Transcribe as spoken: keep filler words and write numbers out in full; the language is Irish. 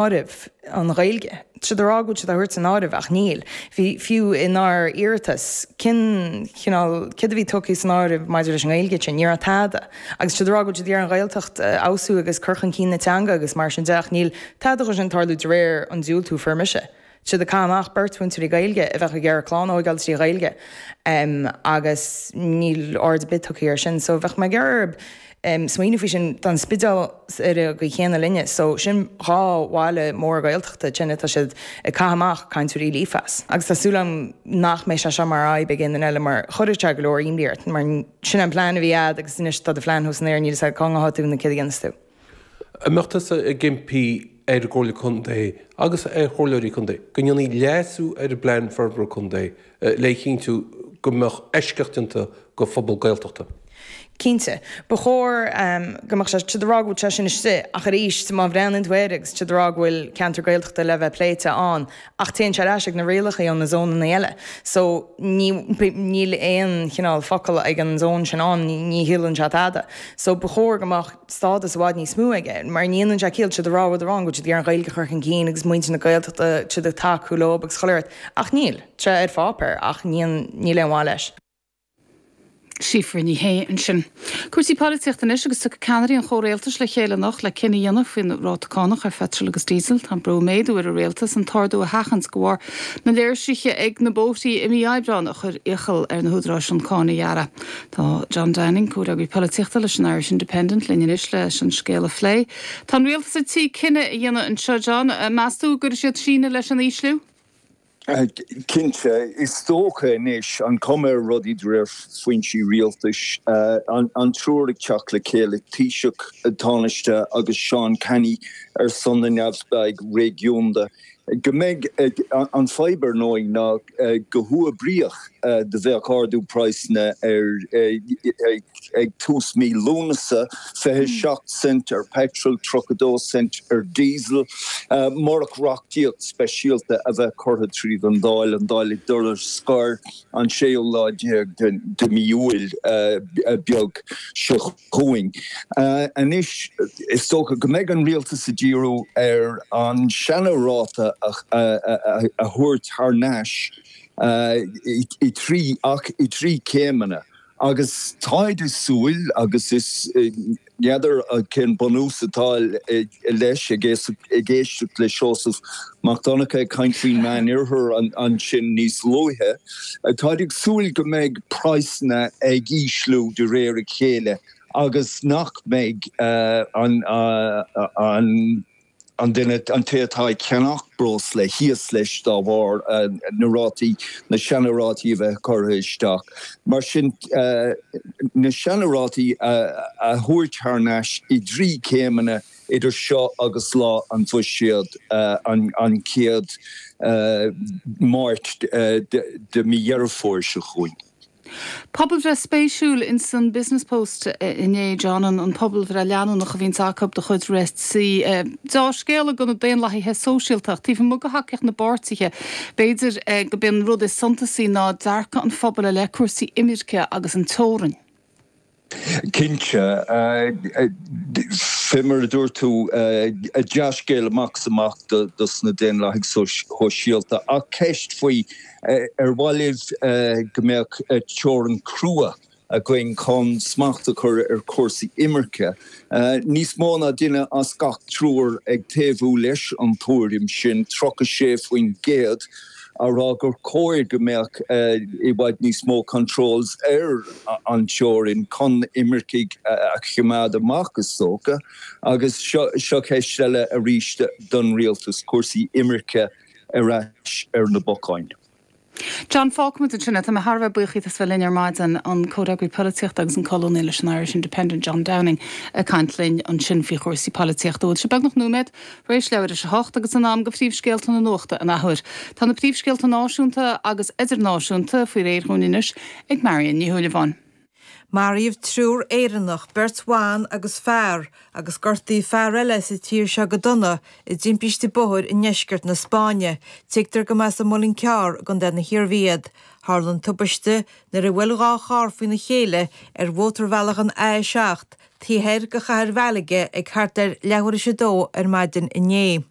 áireamh an Ghaeilge. Tá siad ag rá go bhfuil siad á thabhairt san áireamh ach níl. Bhí fiú inár iarratas cén cineál céard a bhí tugtha san áireamh maidir leis an nGaeilge sin, ní raibh tada. Agus tá siad ag rá go bhfuil siad ag iarraidh an Ghaeltacht a fheabhsú agus cur chun cinn na teanga agus mar sin de ach níl tada dhó sin ag tarlú de réir an diúltú a fuair mise. Tá siad ag caitheamh amach beirt mhúinteoirí Gaeilge a bheadh ag iarraidh clann a thógáil trí Ghaeilge agus níl aird ar bith tugtha air sin. So bheadh mé ag iarraidh smaoineamh faoi sin tá an Spidéal ar an gcaoi chéanna linne. So sin dhá bhaile mór Gaeltachta sin atá siad ag caitheamh amach cainteoirí líofa as. Agus tá súil agam nach mbeidh sé seo mar fhadhb ag aon duine eile mar chuirfeadh sé go leor imní ort mar sin an plean a bhí agat agus anois tá do phlean thuas san aer níl a fhios agat cá ngabhfaidh tú nó céard a dhéanfas tú. An mbeadh tusa ag impí ar an gComhairle Contae agus ar Chomhairleoirí Contae go ndéanfaí leasú ar an bPlean Forbartha Contae le chinntiú go mbeadh eisceacht déanta go phobal Gaeltachta? Cinnte. Ba chóir go mbeadh sé, tá siad ag rá go bhfuil sé sin istigh ach arís má bhreathnaíonn tú air agus tá siad ag rá go bhfuil ceantar Gaeltachta le bheith pléite ann ach téann sé ar ais ag na rialacha ó na zónanna eile. So ní, níl aon chineál focal ag an zón sin ann, ní chiallaíonn sé tada. So ba chóir go mbeadh stádas i bhfad níos mó aige mar ní dhéanann sé ciall, tá siad ag rá rud amháin go bhfuil siad ag iarraidh an Ghaeilge a chur chun cinn agus muintir na Gaeltachta, tá siad ag tacú leo agus chuile shórt ach níl, tá sé ar pháipéar ach ní, níl aon mhaith leis. Síofra Ní Shé ansin. Cúrsaí polaitíochta anois agus tiocfaidh ceannairí an chomhrialtais le chéile anocht le cinneadh a dhéanamh faoin ráta cánach ar pheitreal agus díosal. Tá brú ag méadú ar an rialtas an t-ardú a sheachaint de bharr na léirsithe ag na bóithrí i mí Aibreáin a chuir iachall ar na húdaráis an cáin a ghearradh. Tá John Downing, comhfhreagraí polaitíochta leis an Irish Independent, linn anois leis an scéal a phlé. Tá an rialtas ar tí cinneadh a dhéanamh anseo, John. Meas tú go gcuirfidh siad síneadh leis an ísliú? Cinnte, is dócha anois, an chuma ar rudaí de réir foinsí rialtais, an triúr ag teacht le chéile, Taoiseach, Tánaiste agus Seán Canney ar son na neamhspleáigh réigiúnda, go mbeidh an fadhb ar ndóigh ná go huathoibríoch do bheadh ardú praghsanna ar ag tús mí Lúnasa, fiche seacht cent ar peitreal, tríocha dó cent ar diesel, murach reachtaíocht speisialta a bheith curtha tríd an Dáil, an Dáil ag dul ar scor an séú lá déag de mí Iúil beag seo chugainn. Anois, is dócha go mbeidh an rialtas ag díriú ar an seana-ráta a thabhairt thar n-ais i trí, ach i trí céimeanna. Agus táid ag súil, agus is n'fheadar cén bunús atá leis, ag éisteacht le Seosamh Mac Donncha ag caint faoin Meán-Oirthear ansin níos luaithe, táid ag súil go mbeidh praghsanna ag ísliú de réir a chéile agus nach mbeidh an an duine, an té atá ag ceannach breosla thíos leis dá bharr na rátaí, na seana-rátaí a bheith curtha isteach. Mar sin, na seana-rátaí a thabhairt thar n-ais i dtrí céimeanna idir seo agus lá an Bhuiséid, an chéad Máirt de mí Dheireadh Fómhair seo chugainn. Pobalbhreith spéisiúil ins an Business Post inné, John, an pobalbhreith leanúnach a bhíonns acu de chuid RSC. Deá-scéala do na Daonlathaithe Sóisialta ach taobh amuigh de thacaíocht na bpáirtithe, b'fhéidir go b'é an rud is suntasaí ná dearcadh an phobail i leith cúrsaí imirce agus an teorainn. Cinnte. Fé mar a dúirt tú, dea-scéal amach is amach dos na Daonlathaigh Shóisialta ach ceist faoi ar mhaith libh go mbeadh teorainn chrua againn chun smacht a chur ar chúrsaí imirce. Níos mó ná duine as gach triúr ag taobhú leis an tuairim sin, tríocha sé faoin gcéad. á rá gur chóir go mbeadh i bhfad níos mó controls ar an teorainn chun imircigh a choimeád amach, is dócha. Agus seo ceist eile arís don rialtas, cúrsaí imirce ar ais ar na bacáin. John, fágfaimid ansin é. Tá mé thar a bheith buíoch díot as bheith linn ar maidin, an comhfhreagraí polaitíochta agus an colúnaí leis an Irish Independent, John Downing, ag caint linn ansin faoi chúrsaí polaitíochta. Bhfuil sé beagnach nóiméad tar éis leathuair théis a hocht agus in am do phríomhscéalta na nuachta an athuair. Tá na príomhscéalta náisiúnta agus idirnáisiúnta faoi réir dhúinn anois ag Marion Ní Shúilleabháin. Maraíodh triúr Éireannach, beirt bhan agus fear, agus gortaíodh fear eile sa tír seo go dona i dtimpiste bóthair i ndeisceart na Spáinne. Tuigtear go mb'as an Muileann Cearr i gContae na hIarmhí iad. Tharla an tubaiste nuair a bhuail dhá charr faoina chéile ar mhótarbhealach an A a seacht taobh thoir de chathair Mhalaga ag thart ar leathuair théis a dó ar maidin inné.